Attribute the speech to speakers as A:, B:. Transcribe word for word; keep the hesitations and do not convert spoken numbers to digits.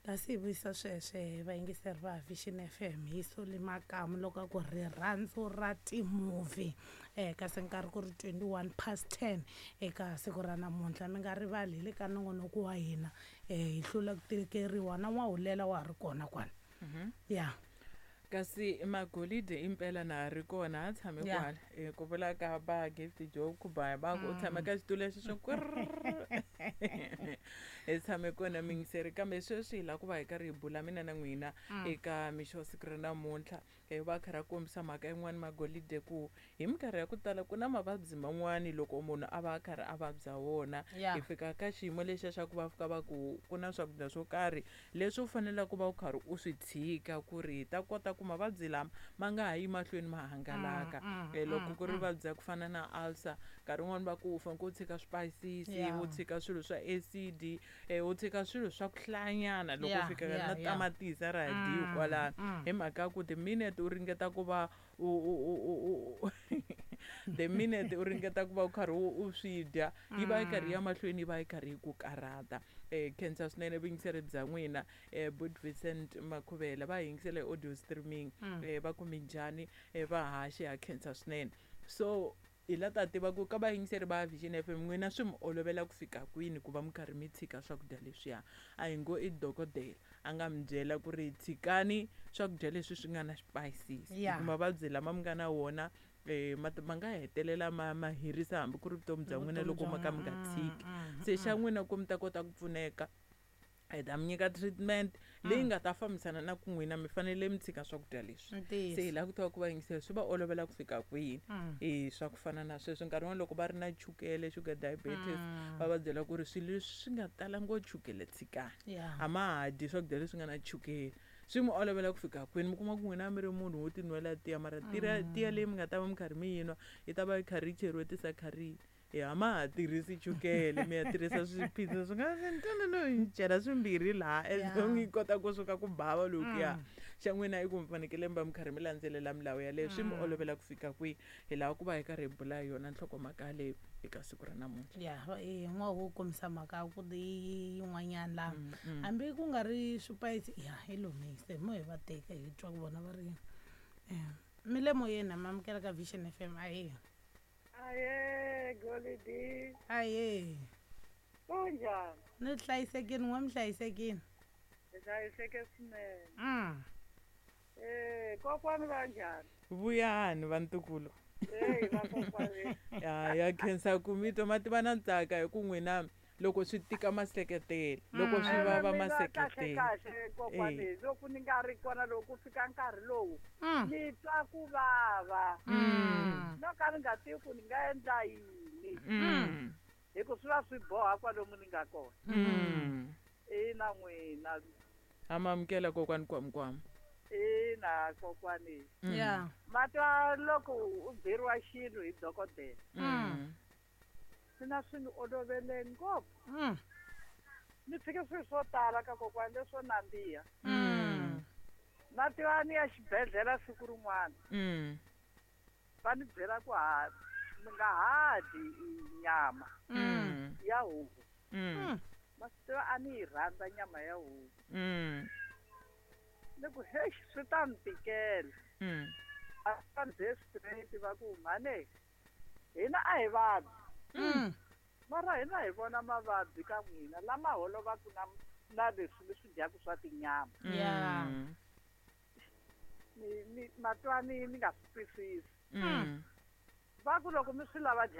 A: Kasi hi vuyisa sweswe vayingiseri va Vision F M hi Soli Makamu loko a ku rirhandzu ra timovie, um kasi nkarhi ku ri twenty-one past ten eka siku ra namuntlha. Mi nga rivali hi le ka nongonoko wa hina, um hi hlula ku tikeriwa na n'wahulela wa ha ri kona kwala ya.
B: Kasi magolide impela na ha ri kona, ha tshame
A: Ya.
B: kwala. Eh, ku vula ka va Gift Joe Khubaya, va ku u tshame ka xitulu lexi xo kwirr. Hi tshame kona mingiseri, kambe sweswi hi lava ku va hi karhi hi bula mina na n'wina eka mixo wa siku ra namuntlha. Eh, va kha ra kombisa mhaka yin'wani magolide ku hi minkarhi ya ku tala ku na mavabyi man'wani loko munhu a va a karhi a vabya wona,
A: Ya.
B: hi fika ka xiyimo lexiya xa ku va fika va ku ku na swakudya swo karhi leswi u faneleke ku va u karhi u swi tshika ku ri hi ta kota ku mavabyi lama ma nga ha yi mahlweni ma hangalaka.
A: Mm,
B: Eh, loko ku ri vabyi ya ku fana na ulcer, nkarhi wun'wani va ku u faneke u tshika swipayisisi,
A: Yeah.
B: u tshika swilo swa acid, eh, u tshika swilo swa ku hlayanyana loko
A: Yeah,
B: u fika
A: yeah,
B: na
A: yeah.
B: tamatisi a ra ha dyiwi kwalano,
A: mm.
B: hi mhaka ya ku the minute u ringeta ku va u u u u u the minute u ringeta ku va u karhi u u swi dya, yi va yi karhi ya mahlweni, yi va yi karhi yi ku karhata. um khensa swinene vuyingiseri bya n'wina. um but Vincent Makhuvela va hi yingisela hi audio streaming, um va ku minjhani? um va haxi, ha khensa swinene. So hi la ta tiva ku ka vayingiseri va Vision F M, n'wina swi mi olovela ku fika kwini ku va mi karhi mi tshika swakudya leswiya? A hi ngo i dokodela a nga mi byela ku ri tshikani swakudya leswi swi nga na xipayisisi,
A: Yeah.
B: hi ku mavabyi lama mi nga na wona um ma ma nga hetelela ma ma herisa hambi ku ri vutomi bya n'wina
A: Vutomi
B: loko
A: bya
B: ma ka mi nga
A: n'wina.
B: tshiki.
A: Mm,
B: Se xa n'wina ku mi ta kota ku pfuneka, hi ta mi nyika treatment leyi nga ta fambisana na ku n'wina mi fanele mi tshika swakudya leswi.
A: Ntiyiso.
B: Se hi lava ku tiva ku vayingiseri swi va olovela ku fika kwini
A: Mm.
B: e swa ku fana na sweswo. Nkarhi wun'wani loko va ri na chukele, sugar diabetes, va va byela ku ri swilo leswi swi nga tala ngopfu chukele tshikani,
A: Yeah.
B: a ma ha dyi swakudya leswi nga na chukele. Swi mi olovela ku fika kwini? Mi kuma ku n'wina mi ri munhu wo tinwela tiya, mara tiya tiya leyi mi nga ta va mi karhi mi yinwa yi ta va yi karhi yi cheriwe tisakharini, e a ma ha tirhisi chukele, mi ya tirhisa swiphiso swi nga no yi chela swimbirhi laha as
A: Yeah.
B: long yi kota kusuka ku bava lokuya. Xa n'wina i ku mi fanekele mi va mi karhi mi landzelela milawu yaleyo. Swi mi olovela ku fika kwihi? Hi lava ku va hi karhi hi bula hi yona nhlokomhaka leyi eka siku ra namuntlha.
A: Ya, eh n'wa wo kombisa mhaka ya ku yi yin'wanyana laha hambi ku nga ri swipayisi ya hi lomise mo hi va teka hi twa ku vona va ri yini. um mi le moyeni, ma amukela ka Vision F M, ahe.
C: Aye, Golidi.
A: Ahe.
C: Kunjani?
A: Ni hlayisekini, n'we mi hlayisekini?
C: Hi hlayiseke swinene.
A: mm.
C: Eh, kokwani va njhani?
B: Vuyani vantukulu.
C: Hey, vakokwani.
B: Ya, ya khensa ku mi twa ma tiva na ntsaka hi ku n'wina loko swi tika ma seketela, loko swi vava ma
C: Mina kahle
B: seketela.
C: Kahle kokwani, loko ni nga ri kona, loko ku fika nkarhi lowu,
A: Mm.
C: ni twa ku vava.
A: Mm.
C: No ka ni nga tivi ku ni nga endla yini.
B: Mm.
C: Hi ku swi va swi boha kwalomu ni nga kona.
B: Mm.
C: Ina n'wina.
B: Ha ma amukela kokwani Kwamkwama.
C: Ina kokwani.
A: Ya.
C: Ma twa loko u byeriwa xilo hi dokodela.
B: Mm.
C: Mina swi ni olovele ngopfu.
A: Mm.
C: Ni tshike swilo swo tala ka kokwani leswo nandziha.
B: Mm.
C: Na tiva ni ya xibedhlele siku rin'wana,
B: Mm.
C: va ni byela ku ha mi nga ha dyi nyama
B: Mm.
C: ya huku.
B: Mm.
C: Ma swi tiva a ni yi rhandza nyama ya huku.
B: Mm.
C: Ni ku heyi, swi ta ni tikela.
B: Mm.
C: A va ni byele straight va ku mhane hina a hi vabyi,
A: Mm.
C: mara hina hi vona mavabyi ka n'wina lama holovaka na na leswi mi swi dyaka swa tinyama.
A: Ya.
B: Mm.
C: Ni ni matwa ni ni nga swi twisisi.
B: Mm.
C: Va ku loko mi swi lava.